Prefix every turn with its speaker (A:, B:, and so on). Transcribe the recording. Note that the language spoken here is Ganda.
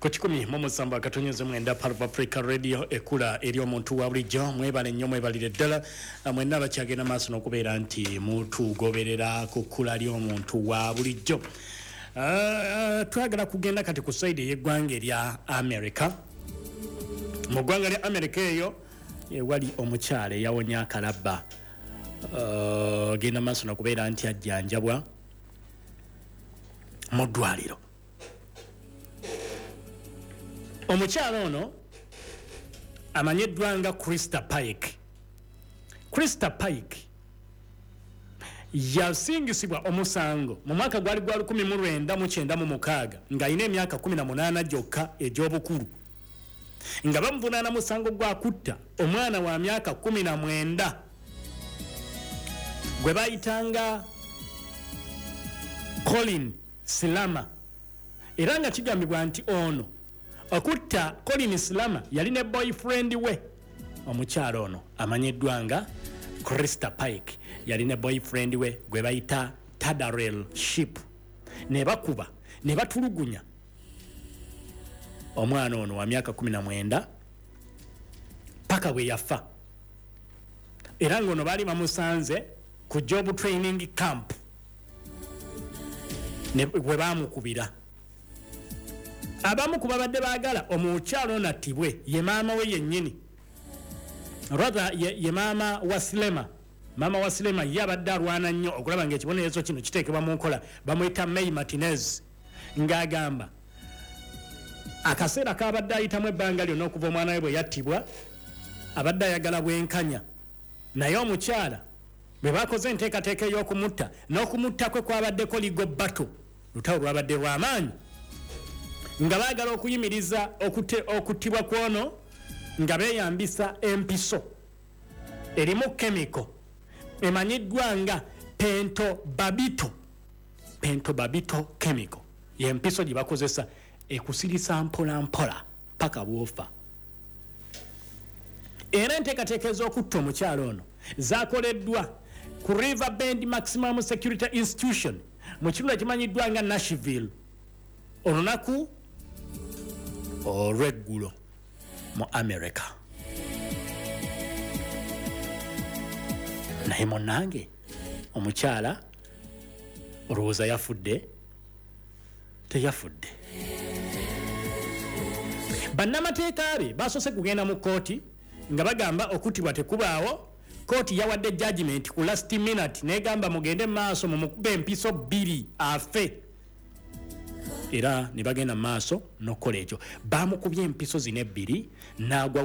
A: Ku 107.9 Part of Africa Radio, ekula eri omuntu wa bulijjo. Mwebale nnyo, mwebalire ddala mwenna abakyagenda maaso n'okubeera nti mutugoberera ku kkula ly'omuntu wa bulijjo. Twagala kugenda kati ku side ey'eggwanga erya America. Mu ggwanga lya America eyo ewali omukyala eyawonya akalabba, genda maaso n'okubeera nti ajjanjabwa mu ddwaliro. Omukyala ono amanyiddwa nga Christa Pike. Christa Pike yasingisibwa omusango mu mwaka gwali gwa 1996 ng'alina emyaka 18 gyokka egy'obukulu, nga bamuvunaana musango gwa kutta omwana wa myaka 19 gwe bayitanga Colin Silama. Era nga kigambibwa nti ono okutta Colin Silama yali ne boyfriend we. Omukyala ono amanyiddwa nga Christa Pike yali ne boyfriend we gwe bayita Tadarel Ship, ne bakuba ne batulugunya omwana ono wa myaka 19 paka bwe yafa. Era ng'ono baali bamusanze ku job training camp bwe baamukubira. Abamu ku babadde baagala omukyalo ono attibwe ye maama we yennyini, rather ye maama wa Silema. Maama wa Silema ye abadde alwana nnyo okulaba ng'ekibonerezo kino kiteekebwa mu nkola. Bamuyita May Martinez, ng'agamba akaseera kabadde ayitamu ebbanga lyonna okuva omwana we bwe yattibwa abadde ayagala bwenkanya, naye omukyala bwe bakoze enteekateeka ey'okumutta, n'okumutta kwe kwabaddeko legal battle, lutalo lwabadde lw'amaanyi nga baagala okuyimiriza okuttibwa kwono nga beeyambisa empiso erimu chemical emanyiddwa nga pentobarbital. Pentobarbital chemical yempiso gye bakozesa ekusirisa mpola mpola paka bwofa. Era enteekateeka ez'okutta omukyalo ono zakoleddwa ku River Bend Maximum Security Institution mu kitundu ekimanyiddwa nga Nashville olunaku olw'eggulo mu America. Naye munnange, omukyala olowooza yafudde? Teyafudde. Bannamateeka be basoose kugenda mu kkooti nga bagamba okuttibwa tekubaawo. Kooti yawadde judgment ku last minute negamba mugende maaso mumukube empiso 2 afe, era ne bagenda maaso n'okukola ekyo. Bamukubye empiso zino ebbiri n'agwa.